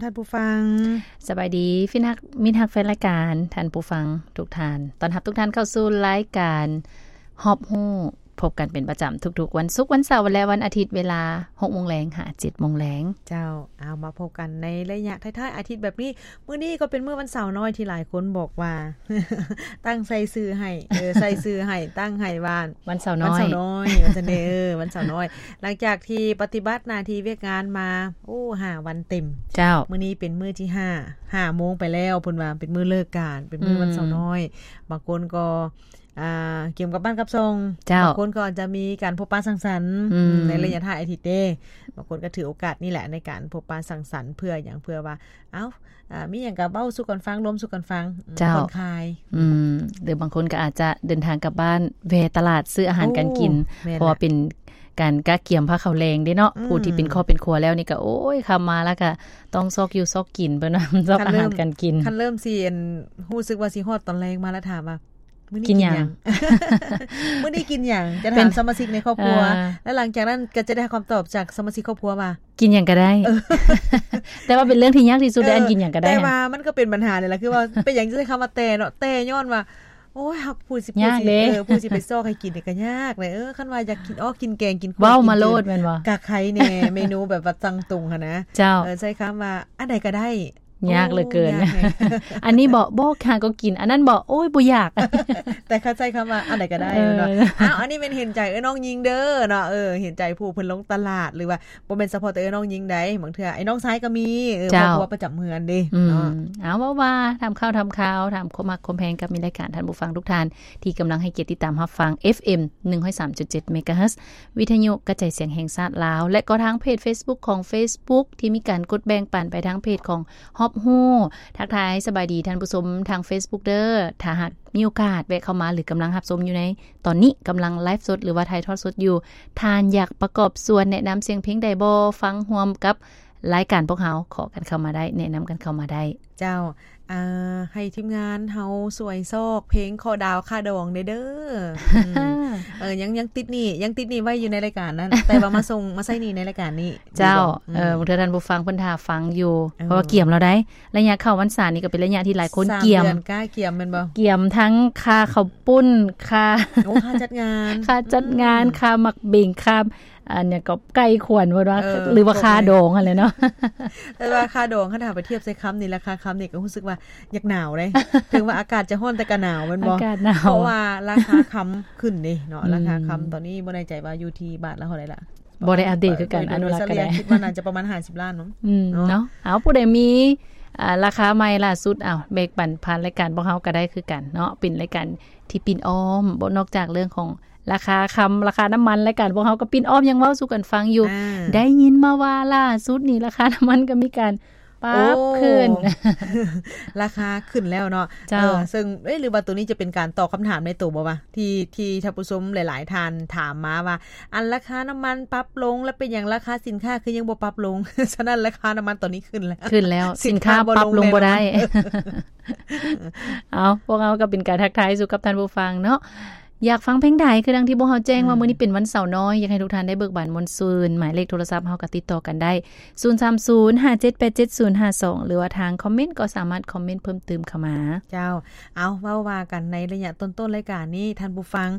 ທ່ານຜູ້ຟັງ ສະບາຍດີ ຟິນຮັກ ມິດຮັກແຟນລາຍການ ທ່ານຜູ້ຟັງທຸກທ່ານ ຕ້ອນຮັບທຸກທ່ານເຂົ້າສູ່ລາຍການຮອບຮູ້ ພົບກັນເປັນປະຈຳທຸກໆວັນສຸກ ວັນເສົາ ແລະ ວັນອາທິດ ເວລາຫົກໂມງແລງຫາເຈັດໂມງແລງ. ເຈົ້າ ເອົາ ມາພົບກັນໃນໄລຍະທ້າຍໆອາທິດແບບນີ້. ມື້ນີ້ກໍເປັນມື້ວັນເສົານ້ອຍທີ່ຫຼາຍຄົນບອກວ່າ ຕັ້ງໃສ່ຊື່ໃຫ້ ເອີ ໃສ່ຊື່ໃຫ້ ຕັ້ງໃຫ້ວ່າ ວັນເສົານ້ອຍ ວັນເສົານ້ອຍ ວ່າຊັ້ນເດ້ ເອີ ວັນເສົານ້ອຍ. ຫຼັງຈາກທີ່ປະຕິບັດໜ້າທີ່ວຽກງານມາ ໂອ້ ຫ້າວັນເຕັມ. ເຈົ້າ ມື້ນີ້ເປັນມື້ທີຫ້າ ຫ້າໂມງໄປແລ້ວ ເພິ່ນວ່າເປັນມື້ເລີກການ ເປັນມື້ວັນເສົານ້ອຍ. ອືມ ບາງຄົນກໍ ອ່າ ກຽມກັບບ້ານກັບຊ່ອງ. ເຈົ້າ ບາງຄົນກໍອາດຈະມີການພົບປະສັງສັນ ອືມ ໃນໄລຍະທ້າຍອາທິດເດ້. ບາງຄົນກໍຖືໂອກາດນີ້ແຫຼະໃນການພົບປະສັງສັນ ເພື່ອຫຍັງ? ເພື່ອວ່າ ເອົ້າ ອ່າ ມີຫຍັງກໍເວົ້າສູ່ກັນຟັງ ລວມສູ່ກັນຟັງ ອືມ ເຈົ້າ ຜ່ອນຄາຍ. ອືມ ຫຼືບາງຄົນກໍອາດຈະເດີນທາງກັບບ້ານ ແວ່ຕະຫຼາດຊື້ອາຫານການກິນ. ໂອ້ ແມ່ນ ເພາະວ່າເປັນການກະກຽມພາເຂົ້າແລງເດ້ເນາະ. ອືມ ຜູ້ທີ່ເປັນຄອບເປັນຄົວແລ້ວນີ້ກໍ ໂອ້ຍ ຄ່ຳມາແລ້ວກໍຕ້ອງຊອກຢູ່ຊອກກິນ ເພິ່ນວ່າ ຊອກອາຫານການກິນ. ຄັນເລີ່ມ ຄັນເລີ່ມຊິ ອັນ ຮູ້ສຶກວ່າຊິຮອດຕອນແລງມາແລ້ວ ຖາມວ່າ ມື້ນີ້ກິນຫຍັງ? ມື້ນີ້ກິນຫຍັງ? ຈະຖາມສະມາຊິກໃນຄອບຄົວ ເອີ ແລ້ວຫຼັງຈາກນັ້ນກໍຈະໄດ້ຮັບຄຳຕອບຈາກສະມາຊິກຄອບຄົວວ່າ ກິນຫຍັງກໍໄດ້. ເອີ ແຕ່ວ່າເປັນເລື່ອງທີ່ຍາກທີ່ສຸດເດ້ ເອີ ອັນກິນຫຍັງກໍໄດ້. ແຕ່ວ່າມັນກໍເປັນບັນຫານີ້ແຫຼະ ຄືວ່າເປັນຫຍັງຈຶ່ງໃຊ້ຄຳວ່າແຕ່ເນາະ ແຕ່ຍ້ອນວ່າ ໂອ້ຍ ເຮົາ ຜູ້ຊິ ຍາກເດ້ ເອີ ຜູ້ຊິໄປຊອກໃຫ້ກິນນີ້ກໍຍາກເດ້. ເອີ ຄັນວ່າຢາກກິນອອກກິນແກງ ກິນ ເວົ້າມາໂລດແມ່ນບໍ່? ກະໄຄແດ່ ເມນູແບບວ່າສັ່ງຕົງຫັ້ນນະ. ເຈົ້າ ເອີ ໃຊ້ຄຳວ່າ ອັນໃດກໍໄດ້. ຍາກເຫຼືອເກີນ. ໂອ້ ຍາກແຮງ. ອັນນີ້ເບາະ ບໍ່ ຫາກໍກິນ ອັນນັ້ນເບາະ ໂອ້ຍ ບໍ່ຢາກ. ແຕ່ຄັນໃຊ້ຄຳວ່າ ອັນໃດກໍໄດ້ ເອີ ເນາະ. ອ້າວ ອັນນີ້ແມ່ນເຫັນໃຈເອື້ອຍນ້ອງຍິງເດີເນາະ ເອີ ເຫັນໃຈຜູ້ເພິ່ນລົງຕະຫຼາດ ຫຼືວ່າບໍ່ແມ່ນສະເພາະແຕ່ເອື້ອຍນ້ອງຍິງໃດ ບາງເທື່ອໄອ້ນ້ອງຊາຍກໍມີ ເອີ ເຈົ້າ ຄອບຄົວປະຈຳເຮືອນເດ້ ອືມ ເນາະ. ເອົາ ເວົ້າວ່າຖາມຂ່າວຖາມຄາວ ຖາມຄວາມຮັກຄວາມແພງກັບມິດລາຍການ ທ່ານຜູ້ຟັງທຸກທ່ານທີ່ກຳລັງໃຫ້ກຽດຕິດຕາມຮັບຟັງ ເອັຟເອັມ ໜຶ່ງຮ້ອຍສາມຈຸດເຈັດ ເມກາເຮີດ ວິທະຍຸກະຈາຍສຽງແຫ່ງຊາດລາວ ແລະ ກໍທາງເພຈເຟສບຸກຂອງເຟສບຸກ ທີ່ມີການກົດແບ່ງປັນໄປທາງເພຈຂອງຮອບຮູ້. ທັກທາຍສະບາຍດີທ່ານຜູ້ຊົມທາງເຟສບຸກເດີ. ຖ້າຫາກມີໂອກາດແວະເຂົ້າມາ ຫຼື ກຳລັງຮັບຊົມຢູ່ໃນຕອນນີ້ ກຳລັງໄລຟ໌ສົດ ຫຼືວ່າຖ່າຍທອດສົດຢູ່ ທ່ານຢາກປະກອບສ່ວນແນະນຳສຽງເພງໃດບໍ່ ຟັງຮ່ວມກັບລາຍການພວກເຮົາ ຂໍກັນເຂົ້າມາໄດ້ ແນະນຳກັນເຂົ້າມາໄດ້. ເຈົ້າ ອ່າ ໃຫ້ທີມງານເຮົາຊ່ວຍຊອກເພງຂໍດາວຄ່າດອງແດ່ເດີ. ອືມ ເອີ ຍັງ ຍັງຕິດໜີ້ ຍັງຕິດໜີ້ໄວ້ຢູ່ໃນລາຍການນັ້ນ ແຕ່ວ່າມາສົ່ງ ມາໃຊ້ໜີ້ໃນລາຍການນີ້. ເຈົ້າ ດີບໍ່? ອືມ ເອີ ບາງເທື່ອທ່ານຜູ້ຟັງເພິ່ນຖ້າຟັງຢູ່ ເອີ ເພາະວ່າກຽມແລ້ວໃດ໋. ໄລຍະເຂົ້າພັນສານີ້ກໍເປັນໄລຍະທີ່ຫຼາຍຄົນກຽມ ສາມເດືອນກ້າກຽມແມ່ນບໍ່? ກຽມທັງຄ່າເຂົ້າປຸ້ນ ຄ່າ ໂອ້ ຄ່າຈັດງານ ຄ່າຈັດງານ ອືມ ຄ່າໝາກເບັງ ຄ່າ ອັນຫຍັງກໍໄກ່ຂວັນເພິ່ນວ່າ ເອີ ຫຼືວ່າຄ່າດອງຫັ້ນແຫຼະເນາະ. ແຕ່ວ່າຄ່າດອງ ຄັນຖ້າໄປທຽບໃສ່ຄຳນີ້ ລາຄາຄຳນີ້ກໍຮູ້ສຶກວ່າຢາກໜາວເດ້. ເຖິງວ່າອາກາດຈະຮ້ອນແຕ່ກໍໜາວແມ່ນບໍ່? ອາກາດໜາວ ເພາະວ່າລາຄາຄຳຂຶ້ນເດ້ເນາະ. ອືມ ລາຄາຄຳຕອນນີ້ບໍ່ແນ່ໃຈວ່າຢູ່ທີ່ບາດລະເທົ່າໃດລະ ບໍ່ໄດ້ອັບເດດຄືກັນ ເອີ ອັນລາຄາ ໂດຍສະເຫຼີ່ຍ ແຕ່ ຄິດວ່າໜ້າຈະປະມານຫ້າສິບລ້ານເນາະ. ອືມ ເນາະ ເນາະ ເອົາ ຜູ້ໃດມີ ອ່າ ລາຄາໃໝ່ລ່າສຸດ ເອົາ ແບ່ງປັນຜ່ານລາຍການພວກເຮົາກໍໄດ້ຄືກັນເນາະ. ເປັນລາຍການທີ່ປິ່ນອ້ອມ ບໍ່ ນອກຈາກເລື່ອງຂອງລາຄາຄຳ ລາຄານ້ຳມັນ ລາຍການພວກເຮົາກໍປິ່ນອ້ອມຍັງເວົ້າສູ່ກັນຟັງຢູ່. ອ່າ ໄດ້ຍິນມາວ່າລ່າສຸດນີ້ລາຄານ້ຳມັນກໍມີການປັບ ໂອ້ ຂຶ້ນ ລາຄາຂຶ້ນແລ້ວເນາະ. ເຈົ້າ ເອີ ເຊິ່ງ ເອີ ຫຼືວ່າໂຕນີ້ຈະເປັນການຕອບຄຳຖາມໃນໂຕບໍ່ວະ ທີ່ ທີ່ທ່ານຜູ້ຊົມຫຼາຍໆທ່ານຖາມມາວ່າ ອັນລາຄານ້ຳມັນປັບລົງ ແລ້ວເປັນຫຍັງລາຄາສິນຄ້າຄືຍັງບໍ່ປັບລົງ? ສະນັ້ນລາຄານ້ຳມັນຕອນນີ້ຂຶ້ນແລ້ວ ຂຶ້ນແລ້ວ ສິນຄ້າ ສິນຄ້າບໍ່ລົງ ປັບລົງບໍ່ໄດ້ ແນ່ນອນ. ເອົາ ພວກເຮົາກໍເປັນການທັກທາຍສູ່ກັບທ່ານຜູ້ຟັງເນາະ. ຢາກຟັງເພງໃດ ຄືດັ່ງທີ່ພວກເຮົາແຈ້ງວ່າ ອືມ ມື້ນີ້ເປັນວັນເສົານ້ອຍ ຢາກໃຫ້ທຸກທ່ານໄດ້ເບີກບານມ່ວນຊື່ນ. ໝາຍເລກໂທລະສັບເຮົາກໍຕິດຕໍ່ກັນໄດ້ ສູນສາມສູນ ຫ້າເຈັດແປດເຈັດສູນຫ້າສອງ ຫຼືວ່າທາງຄອມເມັນກໍສາມາດຄອມເມັນເພີ່ມຕື່ມເຂົ້າມາ. ເຈົ້າ ເອົາ ເວົ້າວ່າກັນໃນໄລຍະຕົ້ນໆລາຍການນີ້ ທ່ານຜູ້ຟັງ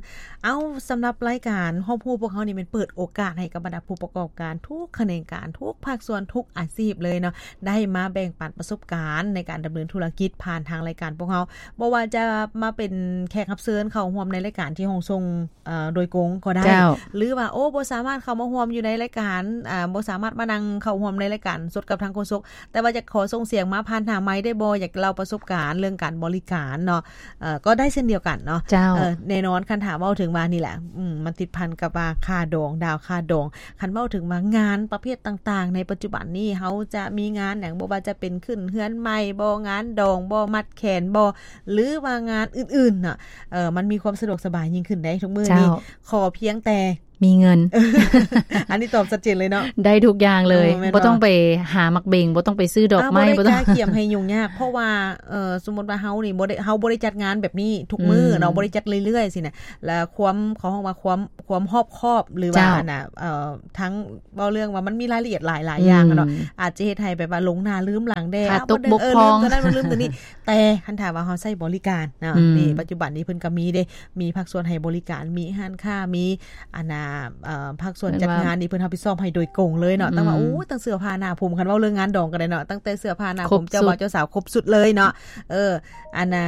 ເອົາ ສຳລັບລາຍການຮອບຮູ້ພວກເຮົານີ້ ແມ່ນເປີດໂອກາດໃຫ້ກັບບັນດາຜູ້ປະກອບການທຸກຂະແໜງການ ທຸກພາກສ່ວນ ທຸກອາຊີບເລີຍເນາະ ໄດ້ມາແບ່ງປັນປະສົບການໃນການດຳເນີນທຸລະກິດຜ່ານທາງລາຍການພວກເຮົາ. ບໍ່ວ່າຈະມາເປັນແຂກຮັບເຊີນເຂົ້າຮ່ວມໃນລາຍການທີ່ຫ້ອງສົ່ງ ເອີ ໂດຍກົງກໍໄດ້ ເຈົ້າ ຫຼືວ່າ ໂອ້ ບໍ່ສາມາດເຂົ້າມາຮ່ວມຢູ່ໃນລາຍການ ອ່າ ບໍ່ສາມາດມານັ່ງເຂົ້າຮ່ວມໃນລາຍການສົດກັບທາງໂຄສົກ ແຕ່ວ່າຢາກຂໍສົ່ງສຽງມາຜ່ານທາງໄມໄດ້ບໍ່? ຢາກເລົ່າປະສົບການເລື່ອງການບໍລິການເນາະ ເອີ ກໍໄດ້ເຊັ່ນດຽວກັນເນາະ. ເຈົ້າ ເອີ ແນ່ນອນ ຄັນຖ້າເວົ້າເຖິງວ່ານີ້ແຫຼະ ອືມ ມັນຕິດພັນກັບວ່າຄ່າດອງ ດາວຄ່າດອງ. ຄັນເວົ້າເຖິງວ່າງານປະເພດຕ່າງໆໃນປັດຈຸບັນນີ້ ເຮົາຈະມີງານຫຍັງ ບໍ່ວ່າຈະເປັນຂຶ້ນເຮືອນໃໝ່ບໍ ງານດອງບໍ ມັດແຂນບໍ ຫຼືວ່າງານອື່ນໆເນາະ ເອີ ມັນມີຄວາມສະດວກສະບາຍຍິ່ງຂຶ້ນໄດ໋ທຸກມື້ນີ້. ເຈົ້າ ຂໍພຽງແຕ່ ມີເງິນ ອັນນີ້ຕອບຊັດເຈນເລີຍເນາະ ໄດ້ທຸກຢ່າງເລີຍ ເອີ ແມ່ນບໍ່? ບໍ່ຕ້ອງໄປຫາໝາກເບັງ ບໍ່ຕ້ອງໄປຊື້ດອກໄມ້ ອ່າ ບໍ່ໄດ້ ບໍ່ຕ້ອງ ກະກຽມໃຫ້ຫຍຸ້ງຍາກ ເພາະວ່າ ເອີ ສົມມຸດວ່າເຮົານີ້ບໍ່ໄດ້ ເຮົາບໍ່ໄດ້ຈັດງານແບບນີ້ທຸກມື້ເນາະ ອືມ ບໍ່ໄດ້ຈັດເລື້ອຍໆຊີ້ນະ ແລ້ວຄວາມ ເຂົາຮ້ອງວ່າຄວາມ ຄວາມຮອບຄອບ ຫຼືວ່າ ເຈົ້າ ອັນນ່າ ເອີ ທັງ ເວົ້າເລື່ອງວ່າມັນມີລາຍລະອຽດຫຼາຍໆຢ່າງເນາະ ອືມ ອາດຈະເຮັດໃຫ້ແບບວ່າຫຼົງໜ້າລືມຫຼັງແດ່ ຂາດຕົກ ເອົາ ບໍ່ ບົກຜ່ອງ ເອີ ລືມຕົວນັ້ນ ມາລືມຕົວນີ້ ແຕ່ຄັນຖ້າວ່າເຮົາໃຊ້ບໍລິການເນາະ ອືມ ນີ້ປັດຈຸບັນນີ້ເພິ່ນກໍມີເດ້ ມີພາກສ່ວນໃຫ້ບໍລິການ ມີຮ້ານຄ້າ ມີ ອັນນ່າ ເອີ ພາກສ່ວນ ແມ່ນວ່າ ຈັດງານນີ້ເພິ່ນຮັບຜິດຊອບໃຫ້ໂດຍກົງເລີຍເນາະ ອືມ ຕັ້ງວ່າ ໂອ້ ຕັ້ງເສື້ອຜ້າໜ້າຜົມ ຄັນເວົ້າເລື່ອງງານດອງກໍໄດ້ເນາະ ຕັ້ງແຕ່ເສື້ອຜ້າໜ້າຜົມ ຄົບຊຸດ ເຈົ້າບ່າວເຈົ້າສາວຄົບຊຸດເລີຍເນາະ ເອີ ອັນນ່າ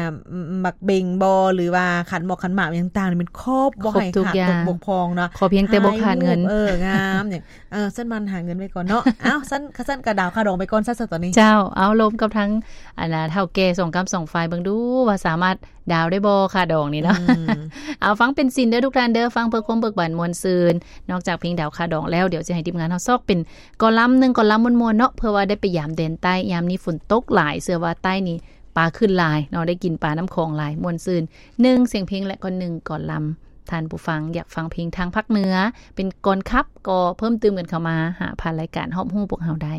ໝາກເບັງບໍ ຫຼືວ່າຂັນໝອກຂັນໝາກຫຍັງຕ່າງໆນີ້ ແມ່ນຄົບ ບໍ່ໃຫ້ຂາດຕົກບົກຜ່ອງເນາະ ຂໍພຽງແຕ່ບໍ່ຂາດເງິນ ຖ່າຍຮູບ ເອີ ງາມຫຍັງ ເອີ ຊັ້ນມັນຫາເງິນໄວ້ກ່ອນເນາະ ເອົ້າ ຊັ້ນ ຊັ້ນກະດາວຄ່າດອງໄປກ່ອນຊະ ຕອນນີ້ ເຈົ້າ ເອົາລົມກັບທາງ ອັນນ່າ ເຖົ້າແກ່ສອງກ້ຳສອງຝ່າຍເບິ່ງດູວ່າສາມາດດາວໄດ້ບໍ່ຄ່າດອງນີ້ເນາະ ອືມ ເອົາ ຟັງເປັນສິນເດີທຸກທ່ານເດີ ຟັງເພື່ອຄວາມເບີກບານມ່ວນຊື່ນ ນອກຈາກເພງດາວຄ່າດອງແລ້ວ ດຽວຊິໃຫ້ທີມງານເຮົາຊອກເປັນກອລາມໜຶ່ງ ກອລາມມ່ວນໆເນາະ ເພື່ອວ່າໄດ້ໄປຢາມແດນໃຕ້ ຍາມນີ້ຝົນຕົກຫຼາຍ ເຊື່ອວ່າໃຕ້ນີ້ປາຂຶ້ນຫຼາຍເນາະ ໄດ້ກິນປານ້ຳຂອງຫຼາຍ ມ່ວນຊື່ນ ໜຶ່ງສຽງເພງ ແລະກໍໜຶ່ງກອລາມ ທ່ານຜູ້ຟັງຢາກຟັງເພງທາງພາກເໜືອ ເປັນກອນຂັບ ກໍເພີ່ມຕື່ມກັນເຂົ້າມາຫາຜ່ານລາຍການຮອບຮູ້ພວກເຮົາໄດ້.